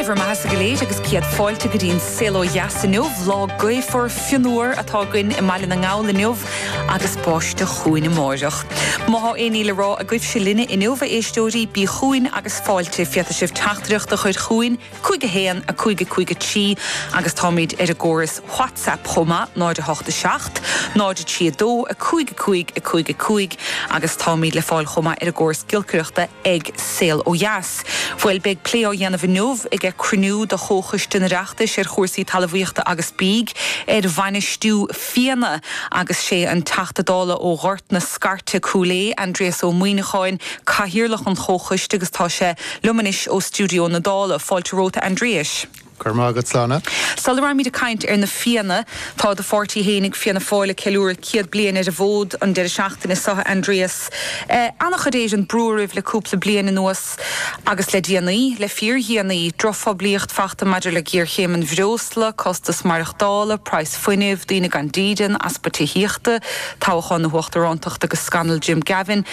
bhur mbeathasa go léir agus céad fáilte go dtí an Saol Ó Dheas inniu. Lá gaofar fionnuar atá againn i mBaile na nGall inniu agus báisteach chugainn amáireach. Má thá aon ní le rá agaibhse linne inniu, a éisteoirí, bí chugainn agus fáilte. Féadfaidh sibh teachtaireacht a chur chugainn, 5 1 5 5 3 agus táimid ar an gcóras WhatsApp chomh maith, 0 8 7 0 3 2 5 5 5 5 agus táimid le fáil chomh maith ar an gcóras giolcaireachta ag Saol Ó Dheas. Bhuel, beidh plé á dhéanamh inniu ag cruinniú de Chomhchoiste an Oireachtais ar chúrsaí talmhaíochta agus bídh ar bhainistiú fianna agus sé an Teachta Dála ó Ghort na Scairte, Cúil Aodha, Aindrias Ó Muimhneacháin, Cathaoirleach an Chomhchoiste agus tá sé liom anois ó stiúideo na Dála. Fáilte romhat a Aindriais. Go raibh maith agat, Sláine. Sula raghaimid ag caint ar na Fianna, tá do pháirtí fhéinig, Fianna Fáil, ag ceiliúradh 100 bliain ar an bhfód an deireadh seachtaine seo, a Aindrias. An-chuid Éireann brú oraibh le cúpla bliain anuas agus le déanaí, le fíordhéanaí, drochphoiblíocht fachta maidir le géarchéim an bhreosla, costas maireachtála, praghas fuinnimh, daoine gan dídean, easpa tithíochta, toghchán na huachtarántachta agus scannal Jim Gavin.